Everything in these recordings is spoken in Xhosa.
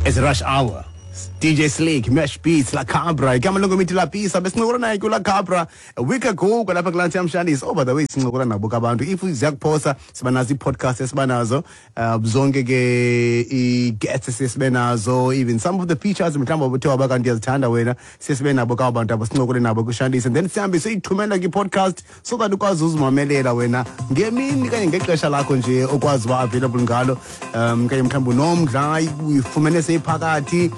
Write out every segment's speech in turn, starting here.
It's rush hour. DJ Slick, Mesh Beats, La Cabra. Igama longomithi Lapisa. Besincokola naye kula Cabra a week ago kwalapha kulaa Ntiyamshandisi. Oh, by the way, sincokola nabo ke abantu. If ziyakuphosa, siba nazo ii-podcast esibanazo. Zonke ke ii-guests esiye sibe nazo, even some of the features mhlawumbi obuthe waba kanti uyazithanda wena, siye sibe nabo ke abo bantu abo sincokole nabo kwishandisi. And then sihambe siyithumela kwi-podcast so that ukwazi uzimamelela wena ngemini kanye ngexesha lakho nje okwazi uba available ngalo. Kanye mhlawumbi unomdla, uyifumene seyiphakathi,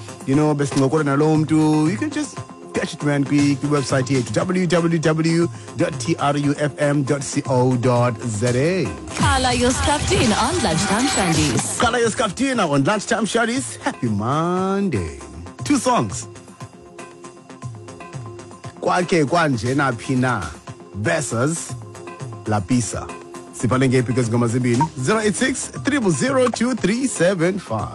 besincokola naloo mntu. You can just catch it, man, kwi-website yethu www.trufm.co.za. Khala Yoskaftina on Lunchtime Shandies. Khala Yoskaftina on Lunchtime Shandies. Happy Monday. Two songs. Kwakhe kwanjena phi na versus Lapisa. Sibhale ngephi kwezi ngoma zimbini? 086 000 2375.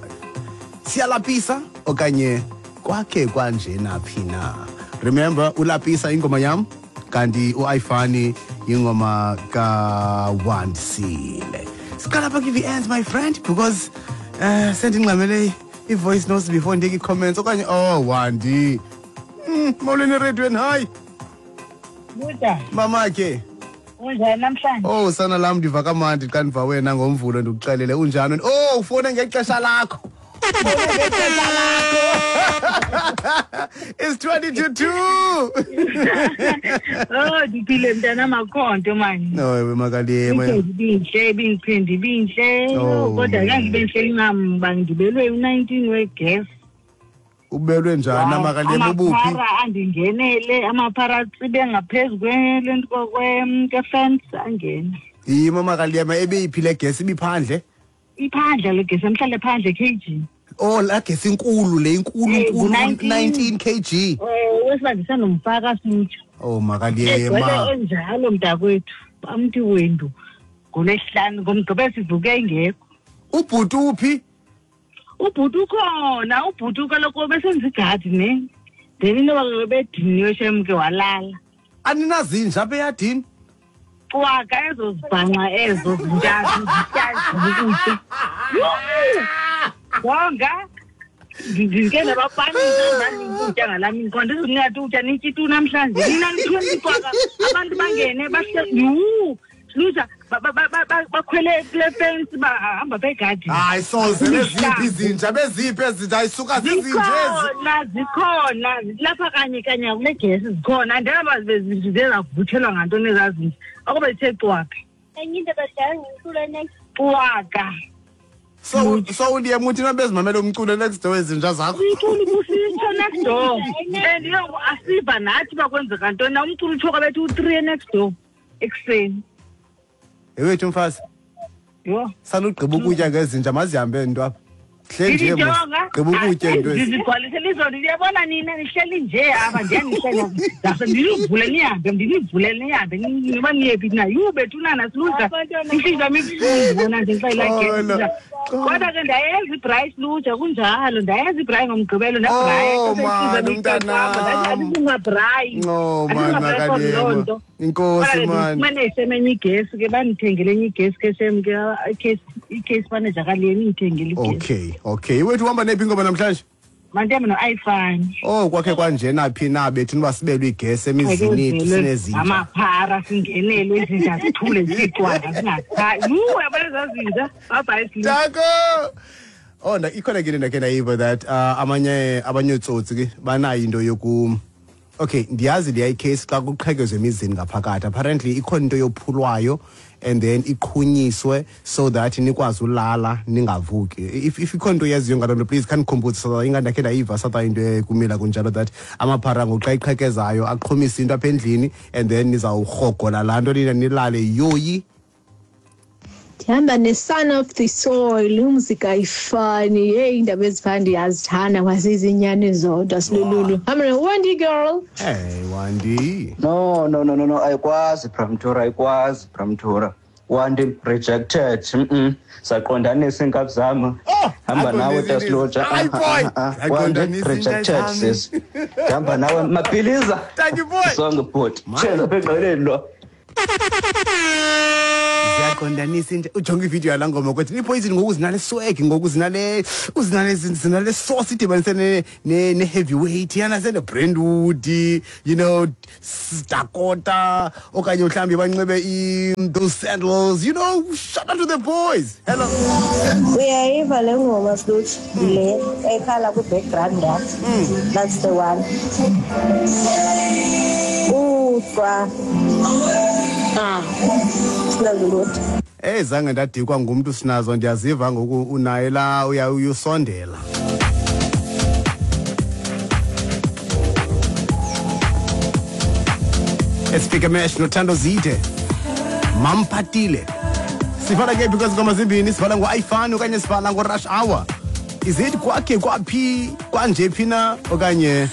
Siyalapisa okanye kwakhe kwanjena phi na? Remember, uLapisa ingoma yam, kanti uAyifani ingoma kaWandisile. Siqala apha kwi-VNs, my friend, because sendingxamele i-voice notes before ndiyeke i-comments okanye, oh, Wandi. Molweni erediyweni, hayi. Buda. Mama ke. Unjani namhlanje? Oh, sana lam, ndiva kamandi xa ndiva wena ngoMvulo, ndikuxelele unjani. Oh, ufone ngexesha lakho. It's 1:40. Oh, ndiphile mntana makhonto mani. No, ewe makaliyema. Ibinhle, ibingiphinde ibinhle. Oh. Kodwa kangibe nhle incam bangibelwe u19 wegas. Ubelwe njani amakaliyema ubuphi? Amaphara andingenele, amaphara atsibe ngaphezu kwelento kwe-fence angene. Yimo makaliyema ebeyiphi le gas ibiphandle? Iphandle le gas, emhlale phandle kg. Oh, la gas inkulu le, inkulu, inkulu, 19 kg. Wesibandisa nomfaka sitsho. Oh, makaliyema. Egcwele enjalo mntakwethu, amthi wendu. NgoLwesihlanu ngoMgqibelo sivuke ingekho. Ubhuti uphi? Ubhuti ukhona, ubhuti kaloku besenza igadi ne. Then inoba bediniwe shem ke walala. Aninazinja apha eyadini? Cwaka ezo zibhanxa ezo zintathu zityazi ukutya. Wonga ndike nabapanisa ndandikutya ngalaa mini khona ndizingathi utya nitya itu namhlanje. Nina nithiwe nicwaka abantu bangene bahle yhu luza bakhwele kule fence bahamba begadini. Hayi soze beziphi izinja, beziphi ezinja, ayisuka zizinja ezi. Zikhona, zikhona lapha kanye kanye kule gesi zikhona. Andaba zizavuthelwa ngantoni ezaa zinja. Akube zithe cwaka. Enye into badlala ngomculo next. Cwaka. So uliye muthi nabezimamela umculo next door ezinja zakho. Umculo ubusitsho next door. And yo asiva nathi bakwenzeka ntoni na umculo utsho kwabethu u3 next door ekuseni. Ewethu mfazi. Yho. Sanugqiba ukutya ngezinja mazihambe nto apha. Hle nje mos. Gqiba ukutya into ezi. Ndizigcwalisele izolo, ndiyabona nina nihleli nje apha, ndiyanihleka. Ndase ndinivule nihambe, ndinivule nihambe, niba niyephi na? Yhu, bethunana, siluza. Inhliziyo yam ibuhlungu bona nje xa ilaa Oh, gesi. no. Kodwa ke ndayenza ibrayi siluja kunjalo, ndayenza ibrayi ngoMgqibelo, ndabraya. Oh, Xa seyihliziyo man, yam umntanam. ibuhlungu, andingabrayi. No, man, Andingabrayi for loo makaliyema. nto. Inkosi, Kodwa ke man. ndifumene isemenye igesi ke, bandithengele enye igesi ke shem ke, i-case manager kaleni indithengele igesi. Okay, okay. Wethu uhamba nephi ingoma namhlanje? Mandihambe no-Ayifani. Oh, kwakhe kwanjena phi na bethu noba sibelwe igesi emizini yethu sinezinja. Amaphara singenelwe izinja zithule zicwaka zingakhayi. Yhu, yabona ezaa zinja? Bye-bye, Slim. Tako! Oh, ikhona ke into ndakhe ndayiva that abanye ootsotsi ke banayo into yoku. Okay, ndiyazi leya icase xa kuqhekezwe emizini ngaphakathi. Apparently ikhona into yophulwayo and then iqhunyiswe so that nikwazi ulala ningavuki. If ikhona into oyaziyo ngaloo nto, please khanikhumbuze so that ingandakhe ndayiva satha into ekumila kunjalo that amaphara ngoku xa iqhekezayo aqhumise into apha endlini and then nizawurhogola laa nto nina nilale yoyi. Ndihamba ne-son of the soil, umzika ayifani. Hey, iindaba ezifana ndiyazithanda kwazizinyani zodwa silululu. Hamba ne-Wendy girl. Hey, Wendy. No, no, no, no, no, ayikwazi Bramtura, ayikwazi Bramtura. Wendy rejected. Saqondanisa iinkabi zam. Oh, Hamba nawe, aqondanisa Tasloja. Hayi, boy. Wendy Aqondanisa rejected, iinkabi zam. sis. Hamba nawe, Mapiliza. Thank you, boy. Sonke, bhuti. Man. Tshela apha engqeleni lo. Saqondanisa into, ujonge ividiyo yalaa ngoma kwethu. Ipoison ngoku zinale swag, ngoku zinale sauce idibanise ne-heavyweight yana sene-Brentwood, Dakota, okanye mhlawumbi banxibe those sandals. Shout out to the boys. Hello. Uyayiva le ngoma, Slut, le ekhala kwi-background yam? That's the one. Utswa sinazulutho. Zange ndadikwa ngumntu sinazo, ndiyaziva ngoku unaye la uya uyusondela. Esifike mesh noThando Zide. Mampatile. Sivala ke because ngoma zimbini, sivala ngo-Ayifani okanye sivala ngo-Rush Hour. Is it kwakhe kwaphi kwanje phi na okanye